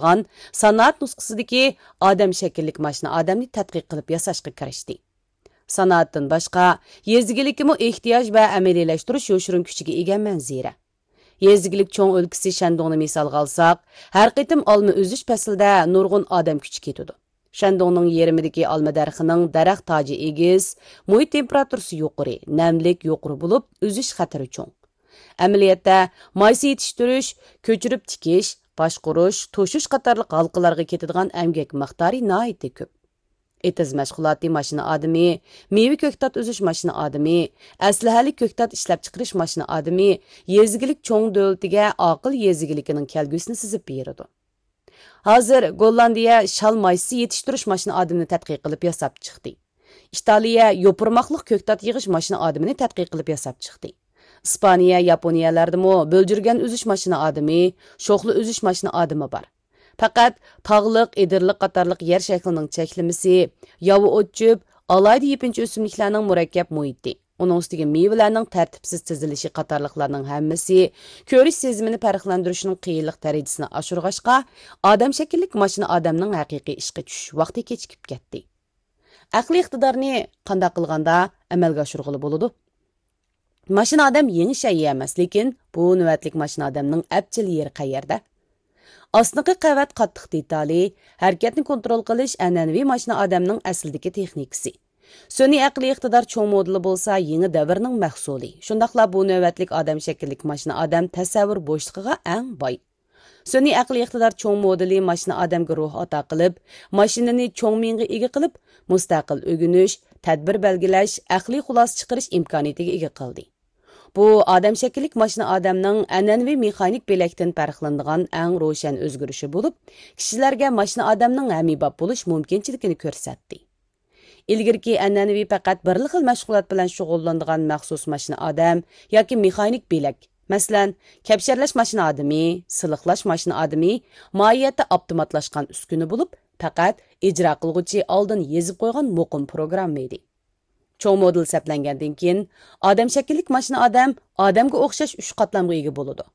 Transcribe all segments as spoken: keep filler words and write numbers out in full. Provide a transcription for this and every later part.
قىلغان سانائەت نۇسخىسىدىكى ئادەم شەكىللىك ماشىنا ئادەمنى تەتقىق قىلىپ ياساشقا كىرىشتى. سانائەتتىن باشقا، يېزا ئىگىلىكىمۇ ئېھتىياج ۋە ئەمەلىيلەشتۈرۈش يوشۇرۇن كۈچىگە ئىگە مەنزىرە. يېزا ئىگىلىك چوڭ ئۆلكىسى شەندۇڭنى مىسالغا ئالساق، ھەر قېتىم ئالما ئۈزۈش پەسلىدە نۇرغۇن ئادەم كۈچى كېتىدۇ. شەندۇڭنىڭ يېرىمىدىكى ئالما دەرىخىنىڭ دەرەخ تاجى ئېگىز، مۇھىت تېمپېراتۇرىسى يۇقىرى، نەملىك يۇقىرى بولۇپ، ئۈزۈش خەتىرى چوڭ. ئەمەلىيەتتە، مايسا يېتىشتۈرۈش، كۆچۈرۈپ تىكىش، باشقۇرۇش، توشۇش قاتارلىق ھالقىلارغا كېتىدىغان ئەمگەك مىقدارى ناھايىتى كۆپ. ئېتىز مەشغۇلاتى ماشىنا ئادىمى، مېۋە كۆكتات ئۈزۈش ماشىنا ئادىمى، ئەسلىھەلىك كۆكتات ئىشلەپچىقىرىش ماشىنا ئادىمى يېزا ئىگىلىك چوڭ دۆلىتىگە ئاقىل يېزا ئىگىلىكىنىڭ كەلگۈسىنى سىزىپ بېرىدۇ. ھازىر گوللاندىيە شال مايسىسى يېتىشتۈرۈش ماشىنا ئادىمىنى تەتقىق قىلىپ ياساپ چىقتى. ئىتالىيە يوپۇرماقلىق كۆكتات يىغىش ماشىنا ئادىمىنى تەتقىق قىلىپ ياساپ چىقتى. ئىسپانىيە، ياپونىيەلەردىمۇ بۆلجۈرگەن ئۈزۈش ماشىنا ئادىمى، شوخلا ئۈزۈش ماشىنا ئادىمى بار. پەقەت تاغلىق، ئېدىرلىق قاتارلىق يەر شەكلىنىڭ چەكلىمىسى، ياۋا ئوت-چۆپ، ئالاھىدە يېپىنچا ئۆسۈملۈكلەرنىڭ مۇرەككەپ مۇھىتى، ئۇنىڭ ئۈستىگە مېۋىلەرنىڭ تەرتىپسىز تىزىلىشى قاتارلىقلارنىڭ ھەممىسى كۆرۈش سېزىمىنى پەرقلەندۈرۈشنىڭ قىيىنلىق دەرىجىسىنى ئاشۇرغاچقا، ئادەم شەكىللىك ماشىنا ئادەمنىڭ ھەقىقىي ئىشقا چۈشۈش ۋاقتى كېچىكىپ كەتتى. ئەقلىي ئىقتىدارنى قانداق قىلغاندا ئەمەلگە ئاشۇرغىلى بولىدۇ؟ ماشىنا ئادەم يېڭى شەيئى ئەمەس، لېكىن بۇ نۆۋەتلىك ماشىنا ئادەمنىڭ ئەپچىل يېرى قەيەردە؟ ئاستىنقى قەۋەت قاتتىق دېتالى، ھەرىكەتنى كونترول قىلىش ئەنئەنىۋى ماشىنا ئادەمنىڭ ئەسلىدىكى تېخنىكىسى. سۈنئىي ئەقلىي ئىقتىدار چوڭ مودېلى بولسا يېڭى دەۋرنىڭ مەھسۇلى، شۇنداقلا بۇ نۆۋەتلىك ئادەم شەكىللىك ماشىنا ئادەم تەسەۋۋۇر بوشلۇقىغا ئەڭ باي. سۈنئىي ئەقلىي ئىقتىدار چوڭ مودېلى ماشىنا ئادەمگە روھ ئاتا قىلىپ، ماشىنىنى چوڭ مېڭىگە ئىگە قىلىپ، مۇستەقىل ئۆگىنىش، تەدبىر بەلگىلەش، ئەقلىي خۇلاسە چىقىرىش ئىمكانىيىتىگە ئىگە قىلدى. بۇ ئادەم شەكىللىك ماشىنا ئادەمنىڭ ئەنئەنىۋى مېخانىك بۆلەكتىن پەرقلىنىدىغان ئەڭ روشەن ئۆزگىرىشى بولۇپ، كىشىلەرگە ماشىنا ئادەمنىڭ ھەممىباب بولۇش مۇمكىنچىلىكىنى كۆرسەتتى. ئىلگىرىكى ئەنئەنىۋى پەقەت بىرلا خىل مەشغۇلات بىلەن شۇغۇللىنىدىغان مەخسۇس ماشىنا ئادەم ياكى مېخانىك بۆلەك، مەسىلەن، كەپشەرلەش ماشىنا ئادىمى، سىلىقلاش ماشىنا ئادىمى ماھىيەتتە ئاپتوماتلاشقان ئۈسكۈنە بولۇپ، پەقەت ئىجرا قىلغۇچى ئالدىن يېزىپ قويغان مۇقىم پروگرامما ئىدى. چوڭ مودېل سەپلەنگەندىن كېيىن، ئادەم شەكىللىك ماشىنا ئادەم ئادەمگە ئوخشاش ئۈچ قاتلامغا ئىگە بولىدۇ.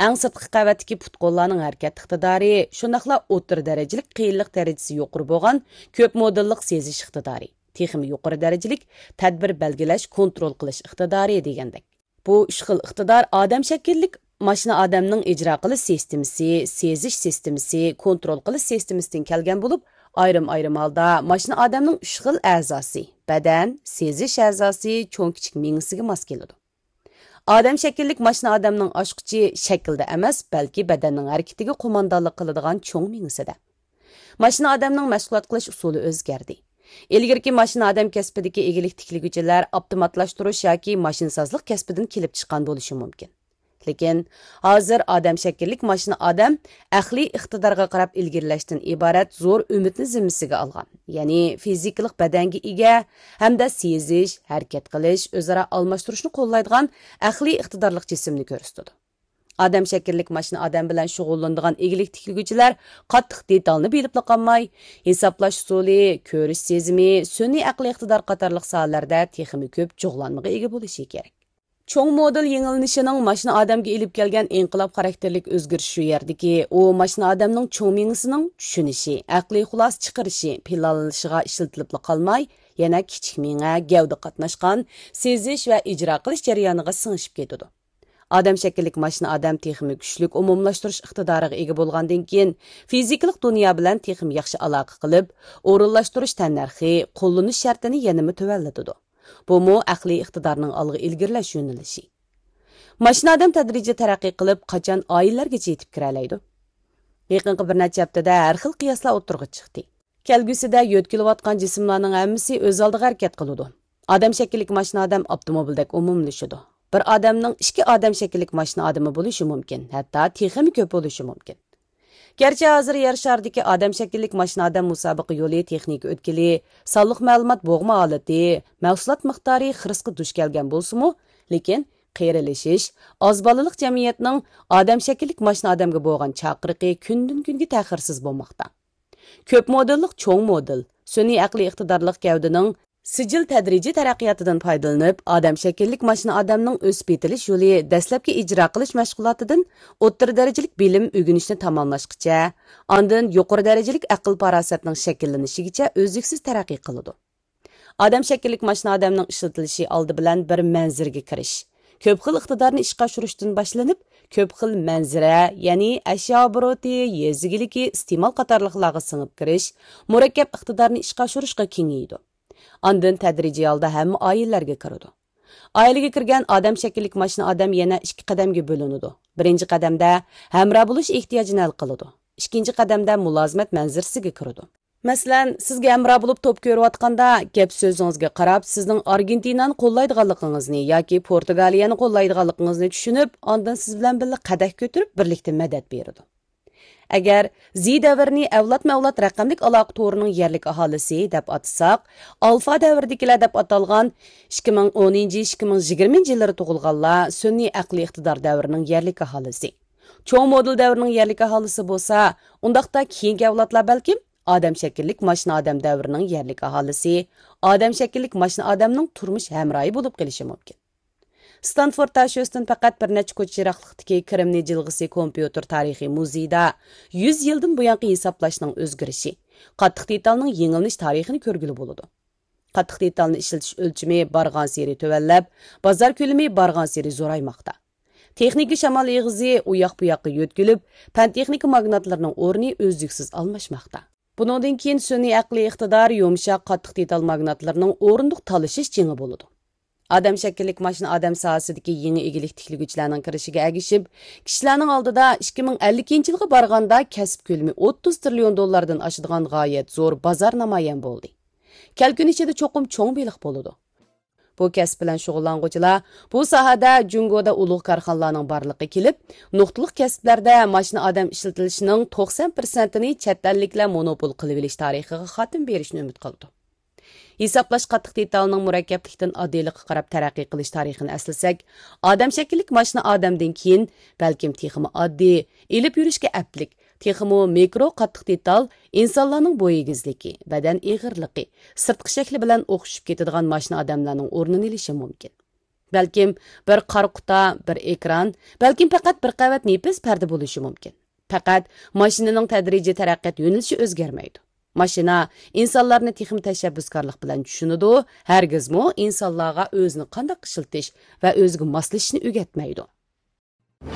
ئەڭ سىرتقى قەۋەتتىكى پۇت-قوللارنىڭ ھەرىكەت ئىقتىدارى، شۇنداقلا ئوتتۇرا دەرىجىلىك قىيىنلىق دەرىجىسى يۇقىرى بولغان كۆپ مودېللىق سېزىش ئىقتىدارى، تېخىمۇ يۇقىرى دەرىجىلىك تەدبىر بەلگىلەش، كونترول قىلىش ئىقتىدارى دېگەندەك. بۇ ئۈچ خىل ئىقتىدار ئادەم شەكىللىك ماشىنا ئادەمنىڭ ئىجرا قىلىش سىستېمىسى، سېزىش سىستېمىسى، كونترول قىلىش سىستېمىسىدىن كەلگەن بولۇپ، ئايرىم-ئايرىم ھالدا ماشىنا ئادەمنىڭ ئۈچ خىل ئەزاسى، بەدەن، سېزىش ئەزاسى، چوڭ كىچىك مېڭىسىگە ماس كېلىدۇ. ئادەم شەكىللىك ماشىنا ئادەمنىڭ ئاچقۇچى شەكىلدە ئەمەس، بەلكى بەدەننىڭ ھەرىكىتىگە قوماندانلىق قىلىدىغان چوڭ مېڭىسىدە. ماشىنا ئادەمنىڭ مەشغۇلات قىلىش ئۇسۇلى ئۆزگەردى. ئىلگىرىكى ماشىنا ئادەم كەسپىدىكى ئىگىلىك تىكلىگۈچىلەر ئاپتوماتلاشتۇرۇش ياكى ماشىنىسازلىق كەسپىدىن كېلىپ چىققان بولۇشى مۇمكىن. لېكىن ھازىر ئادەم شەكىللىك ماشىنا ئادەم ئەقلىي ئىقتىدارغا قاراپ ئىلگىرىلەشتىن ئىبارەت زور ئۈمىدنى زىممىسىگە ئالغان، يەنى فىزىكىلىق بەدەنگە ئىگە ھەمدە سېزىش، ھەرىكەت قىلىش، ئۆزئارا ئالماشتۇرۇشنى قوللايدىغان ئەقلىي ئىقتىدارلىق جىسىمنى كۆرسىتىدۇ. ئادەم شەكىللىك ماشىنا ئادەم بىلەن شۇغۇللىنىدىغان ئىگىلىك تىكلىگۈچىلەر قاتتىق دېتالنى بىلىپلا قالماي، ھېسابلاش ئۇسۇلى، كۆرۈش سېزىمى، سۈنئىي ئەقلىي ئىقتىدار قاتارلىق ساھەلەردە تېخىمۇ كۆپ جۇغلانمىغا ئىگە بولۇشى كېرەك. چوڭ مودېل يېڭىلىنىشىنىڭ ماشىنا ئادەمگە ئېلىپ كەلگەن ئىنقىلاب خاراكتېرلىك ئۆزگىرىش شۇ يەردىكى، ئۇ ماشىنا ئادەمنىڭ چوڭ مېڭىسىنىڭ چۈشىنىشى، ئەقلىي خۇلاسە چىقىرىشى، پىلانلىشىغا ئىشلىتىلىپلا قالماي، يەنە كىچىك مېڭە، گەۋدە قاتناشقان سېزىش ۋە ئىجرا قىلىش جەريانىغا سىڭىشىپ كېتىدۇ. ئادەم شەكىللىك ماشىنا ئادەم تېخىمۇ كۈچلۈك ئومۇملاشتۇرۇش ئىقتىدارىغا ئىگە بولغاندىن كېيىن، فىزىكىلىق دۇنيا بىلەن تېخىمۇ ياخشى ئالاقە قىلىپ، ئورۇنلاشتۇرۇش تەننەرخى، قوللىنىش شەرتىنى يەنىمۇ تۆۋەنلىتىدۇ. بۇمۇ ئەقلىي ئىقتىدارنىڭ ئالغا ئىلگىرىلەش يۆنىلىشى. ماشىنا ئادەم تەدرىجىي تەرەققىي قىلىپ، قاچان ئائىلىلەرگىچە يېتىپ كىرەلەيدۇ؟ يېقىنقى بىر نەچچە ھەپتىدە ھەر خىل قىياسلار ئوتتۇرىغا چىقتى. كەلگۈسىدە يۆتكىلىۋاتقان جىسىملارنىڭ ھەممىسى ئۆز ئالدىغا ھەرىكەت قىلىدۇ. ئادەم شەكىللىك ماشىنا ئادەم ئاپتوموبىلدەك ئومۇملىشىدۇ. بىر ئادەمنىڭ ئىككى ئادەم شەكىللىك ماشىنا ئادىمى بولۇشى مۇمكىن، ھەتتا تېخىمۇ كۆپ بولۇشى مۇمكىن. گەرچە ھازىر يەر شارىدىكى ئادەم شەكىللىك ماشىنا ئادەم مۇسابىقە يولى تېخنىكا ئۆتكىلى، سانلىق مەلۇمات بوغما ھالىتى، مەھسۇلات مىقدارى خىرىسقا دۇچ كەلگەن بولسىمۇ، لېكىن قېرىلىشىش، ئاز بالىلىق جەمئىيەتنىڭ ئادەم شەكىللىك ماشىنا ئادەمگە بولغان چاقىرىقى كۈندىن-كۈنگە تەخىرسىز بولماقتا. كۆپ مودېللىق چوڭ مودېل، سۈنئىي ئەقلىي ئىقتىدارلىق گەۋدىنىڭ سىجىل تەدرىجىي تەرەققىياتىدىن پايدىلىنىپ، ئادەم شەكىللىك ماشىنا ئادەمنىڭ ئۆسۈپ يېتىلىش يولى دەسلەپكى ئىجرا قىلىش مەشغۇلاتىدىن ئوتتۇرا دەرىجىلىك بىلىم ئۆگىنىشنى تاماملاشقىچە، ئاندىن يۇقىرى دەرىجىلىك ئەقىل-پاراسەتنىڭ شەكىللىنىشىگىچە ئۈزلۈكسىز تەرەققىي قىلىدۇ. ئادەم شەكىللىك ماشىنا ئادەمنىڭ ئىشلىتىلىشى ئالدى بىلەن بىر مەنزىرىگە كىرىش، كۆپ خىل ئىقتىدارنى ئىشقا ئاشۇرۇشتىن باشلىنىپ، كۆپ خىل مەنزىرە، يەنى ئەشيا ئوبوروتى، يېزا ئىگىلىكى، ئىستېمال قاتارلىقلارغا سىڭىپ كىرىش، مۇرەككەپ ئىقتىدارنى ئىشقا ئاشۇرۇشقا كېڭىيىدۇ. ئاندىن تەدرىجىي ھالدا ھەممە ئائىلىلەرگە كىرىدۇ. ئائىلىگە كىرگەن ئادەم شەكىللىك ماشىنا ئادەم يەنە ئىككى قەدەمگە بۆلۈنىدۇ. بىرىنچى قەدەمدە ھەمراھ بولۇش ئېھتىياجىنى ھەل قىلىدۇ. ئىككىنچى قەدەمدە مۇلازىمەت مەنزىرىسىگە كىرىدۇ. مەسىلەن، سىزگە ھەمراھ بولۇپ توپ كۆرۈۋاتقاندا، گەپ سۆزىڭىزگە قاراپ، سىزنىڭ ئارگېنتىنانى قوللايدىغانلىقىڭىزنى ياكى پورتۇگالىيەنى قوللايدىغانلىقىڭىزنى چۈشىنىپ، ئاندىن سىز بىلەن بىللە قەدەھ كۆتۈرۈپ، بىرلىكتە مەدەت بېرىدۇ. ئەگەر زى دەۋرىنى ئەۋلادمۇ ئەۋلاد رەقەملىك ئالاقە تورىنىڭ يەرلىك ئاھالىسى دەپ ئاتىساق، ئالفا دەۋرىدىكىلەر دەپ ئاتالغان ئىككى مىڭ ئونىنچى، ئىككى مىڭ يىگىرمىنچى يىللىرى تۇغۇلغانلار سۈنئىي ئەقلىي ئىقتىدار دەۋرىنىڭ يەرلىك ئاھالىسى. چوڭ مودېل دەۋرىنىڭ يەرلىك ئاھالىسى بولسا، ئۇنداقتا كېيىنكى ئەۋلادلار بەلكىم ئادەم شەكىللىك ماشىنا ئادەم دەۋرىنىڭ يەرلىك ئاھالىسى، ئادەم شەكىللىك ماشىنا ئادەمنىڭ تۇرمۇش ھەمراھى بولۇپ قېلىشى مۇمكىن. ستانفورد تاشيۆستىن پەقەت بىر نەچچە كوچا يىراقلىقتىكى كرېمنىي جىلغىسى كومپيۇتېر تارىخىي مۇزېيىدا يۈز يىلدىن بۇيانقى ھېسابلاشنىڭ ئۆزگىرىشى، قاتتىق دېتالنىڭ يېڭىلىنىش تارىخىنى كۆرگىلى بولىدۇ. قاتتىق دېتالنى ئىشلىتىش ئۆلچىمى بارغانسېرى تۆۋەنلەپ، بازار كۆلىمى بارغانسېرى زورايماقتا. تېخنىكا شامال ئېغىزى ئۇياق-بۇياققا يۆتكىلىپ، پەن-تېخنىكا ماگناتلىرىنىڭ ئورنى ئۈزلۈكسىز ئالماشماقتا. بۇنىڭدىن كېيىن سۈنئىي ئەقلىي ئىقتىدار، يۇمشاق، قاتتىق دېتال ماگناتلىرىنىڭ ئورۇندۇق تالىشىش جېڭى بولىدۇ. ئادەم شەكىللىك ماشىنا ئادەم ساھەسىدىكى يېڭى ئىگىلىك تىكلىگۈچىلەرنىڭ كىرىشىگە ئەگىشىپ، كىشىلەرنىڭ ئالدىدا ئىككى مىڭ ئەللىكىنچى يىلغا بارغاندا كەسىپ كۆلىمى ئوتتۇز تىرىليون دوللاردىن ئاشىدىغان غايەت زور بازار نامايان بولدى. كەلكۈن ئىچىدە چوقۇم چوڭ بېلىق بولىدۇ. بۇ كەسىپ بىلەن شۇغۇللانغۇچىلار بۇ ساھەدە جۇڭگودا ئۇلۇغ كارخانىلارنىڭ بارلىقى كېلىپ، نۇقتىلىق كەسىپلەردە ماشىنا ئادەم ئىشلىتىلىشىنىڭ توقسان پىرسەنتىنى چەت ئەللىكلەر مونوپول قىلىۋېلىش تارىخىغا خاتىمە بېرىشنى ئۈمىد قىلىدۇ. ھېسابلاش قاتتىق دېتالنىڭ مۇرەككەپلىكتىن ئاددىيلىققا قاراپ تەرەققىي قىلىش تارىخىنى ئەسلىسەك، ئادەم شەكىللىك ماشىنا ئادەمدىن كېيىن، بەلكىم تېخىمۇ ئاددىي، ئېلىپ يۈرۈشكە ئەپلىك، تېخىمۇ مېكرو قاتتىق دېتال، ئىنسانلارنىڭ بوي ئېگىزلىكى، بەدەن ئېغىرلىقى، سىرتقى شەكلى بىلەن ئوخشىشىپ كېتىدىغان ماشىنا ئادەملەرنىڭ ئورنىنى ئېلىشى مۇمكىن. بەلكىم بىر قارا قۇتا، بىر ئېكران، بەلكىم پەقەت بىر قەۋەت نېپىز پەردە بولۇشى مۇمكىن. پەقەت ماشىنىنىڭ تەدرىجىي تەرەققىيات يۆنىلىشى ئۆزگەرمەيدۇ. ماشىنا ئىنسانلارنى تېخىمۇ تەشەببۇسكارلىق بىلەن چۈشىنىدۇ، ھەرگىزمۇ ئىنسانلارغا ئۆزىنى قانداق ئىشلىتىش ۋە ئۆزىگە ماسلىشىشنى ئۆگەتمەيدۇ.